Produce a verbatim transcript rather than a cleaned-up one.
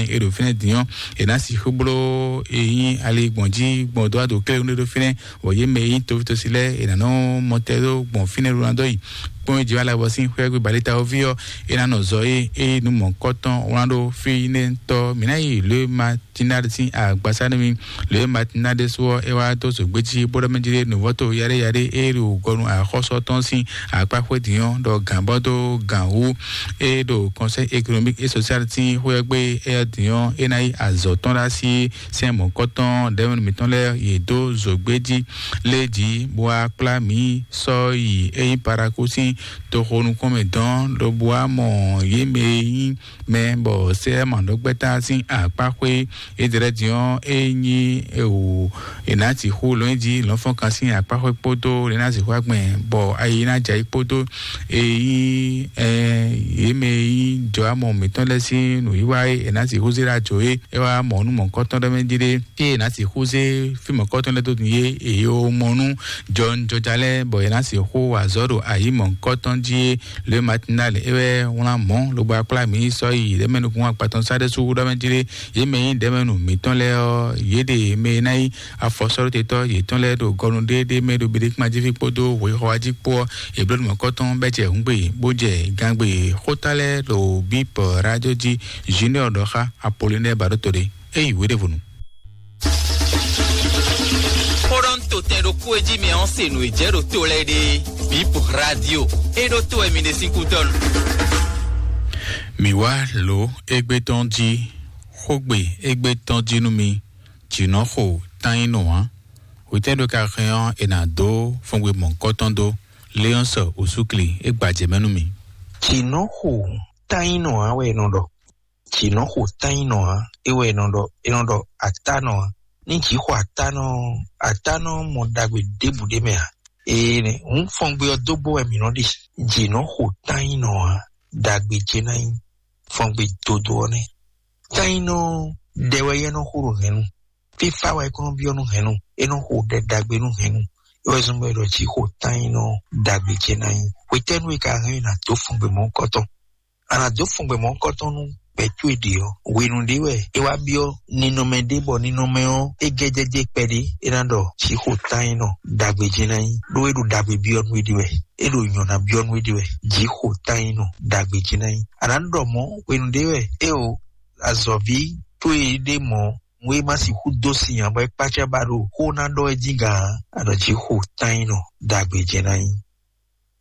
e ɖo fínɛ́ din ɔ́, è nǎ sixú bló e nyí ali gbɔn jí gbɔn dó ado kléwún ɖé ɖó fínɛ́, bɔ yě mɛ e nyí tovítosi lɛ́ɛ è nǎ nɔ mɔtɛ́ ɖó gbɔn fínɛ́ ɖó ná dó yi kpɔ́n jí wá lɛ́ bɔ sín xwé gbé balítawoví ɔ́, é ná nɔ zɔ é é nú mɔ̌kɔ́tɔn wlán ɖó fínɛ́tɔ́. Mǐ ná yi lě ma Tinade sín agbasanumi lě ma Tinade sú ɔ́, é wá dó zǒgbéjí bó ɖɔ mɛ jí ɖé nǔvɔ́to yaɖé yaɖé é ɖo gɔnu axɔ́sɔ tɔn sín akpá xwé din ɔ́, ɖɔ gǎn bɔ dó gǎn wú é ɖo Conseil économique et social sín xwé ɔ́ gbé é ɔ́ din ɔ́, é ná yi azɔ̌ tɔn ɖo así sɛn mɔ̌kɔ́tɔn ɖɛ̌mɛnu mǐtɔn lɛ́ɛ yě dó zǒgbéjí lé jí bó wá kplá mǐ sɔ́ yi é nyí Paraku sín toxo nukɔn mɛ dɔn, lobo wá mɔ yě mɛ e nyí mɛ bɔ sɛ́ mɔ̌ɖɔgbɛ́ta sín akpá xwé. Édrɛ́ din ɔ́, é nyí ewu è nǎ sixú lɔn jí lɔ̌nfɔ́nkan sín akpá xwé kpódó è nǎ sixú agbɛn bɔ ayi ná jɛ ayí kpódó e nyí ɛ yě mɛ e nyí jɔ̌amɔ mǐtɔn lɛ́ɛ sín nǔwiwa e è nǎ sixú zé ɖó ajo é. É wá mɔ nú mɔ̌kɔ́tɔn ɖɔ mɛ jí ɖé, ée è nǎ sixú zé fí mɔ̌kɔ́tɔn lɛ́ɛ dó din é, è yi mɔ nú jɔnjɔja lɛ́ɛ bɔ è nǎ sixú wa azɔ̌ ɖo ayǐ mɔ̌kɔ́tɔn jí é. Le matinale é wɛ wlán mɔ̌ lobo akplá mǐ sɔ́ yi ɖɛ̌mɛnukún akpatɔn sá ɖésú ɖɔ mɛ jí ɖé. Yě mɛ nyí ɖɛ̌mɛnu mǐtɔn lɛ́ɛ ɔ́, yě ɖe mɛ e ná nyí afɔsɔ́ɖótetɔ́ yětɔn lɛ́ɛ ɖo gɔnu ɖéɖé mɛ ɖo Beɖékúmajíví kpódó hwexɔwájí kpó ɔ́, è bló nǔ mɔ̌kɔ́tɔn bɛ́ jɛ hǔngbe bó jɛ gangbé xóta lɛ́ɛ ɖo bípɔ rájó jí. Junior ɖɔ xá Apolinɛ́ɛ Baɖóto ɖé. É yi wěɖévonu. Xó ɖɔ ń to tɛn ɖokpó e jí mɛ ɔ́ se nǔ e jɛ ɖo to lɛ́ɛ ɖe. Bip Radio. É ɖó tó wɛ mi ɖe sín kútɔ́nu. Mǐ wá lǒ égbé tɔn jí, xógbe égbé tɔn jí nú mi. Jǐnɔxo tán nyí nɔ ǎ. Hwetɛ́ ɖo ka hɛn ɔ́, è nǎ dó fɔngbe mɔ̌kɔ́tɔn dó. Léɔ́nsɔ Osúkli é gbajɛ mɛ nú mi. Jǐnɔxo tán nyí nɔ ǎ wɛ è nɔ ɖɔ. Jǐnɔxo tán nyí nɔ ǎ, é wɛ è nɔ ɖɔ, è nɔ ɖɔ atánɔ ǎ. Ní jǐ xɔ atánɔ ɔ́, atánɔ ɔ́ mɔ ɖagbe ɖěbǔ ɖé mɛ ǎ. Ee, hǔn fɔngbe ɔ́ dó bó wɛ mǐ nɔ ɖe. Jǐnɔxo tán nyí nɔ ǎ, ɖagbe ce ná nyí. Fɔngbe dodo ɔ́ nɛ́. Tán nyí nɔ ɖɛ wɛ yɛ nɔ xo ɖo hɛ̌nnu. Fífá wɛ é kɔn nɔ byɔ́ nú hɛ̌nnu. É nɔ xo ɖɛ ɖagbe nú hɛ̌nnu. É wɛ zɔ́n bɔ è ɖɔ jǐ xo tán nyí nɔ ɖagbe ce ná nyí. Hwetɛ́nu e ka hɛn ɔ́, è nǎ dó fɔngbe mɔ̌hunkɔtɔn. A nǎ dó fɔngbe mɔ̌hunkɔtɔn nú gbɛ̌ towe ɖě ɔ́, hwenu ɖé wɛ é wá byɔ́ ninɔmɛ ɖé, bɔ ninɔmɛ ɔ́, é gɛ́ jɛ́jɛ́ kpɛɖé, é ná ɖɔ jǐ xo tán nyí nɔ ɖagbe ce ná nyí, ɖó é ɖo ɖagbe byɔ́ nú éɖée wɛ, é ɖo nyɔ̌ná byɔ́ nú éɖée wɛ, jǐ xo tán nyí nɔ ɖagbe ce ná nyí. A nǎ ɖɔ mɔ̌ hwenu ɖé wɛ é o azɔ̌ví towe ɖé mɔ̌, nú é má sixú dó sin ǎ, bɔ é kpácá ba ɖo xó ná ɖɔ é jínga ǎ, a ɖɔ jǐ xo tán nyí nɔ ɖagbe ce ná nyí.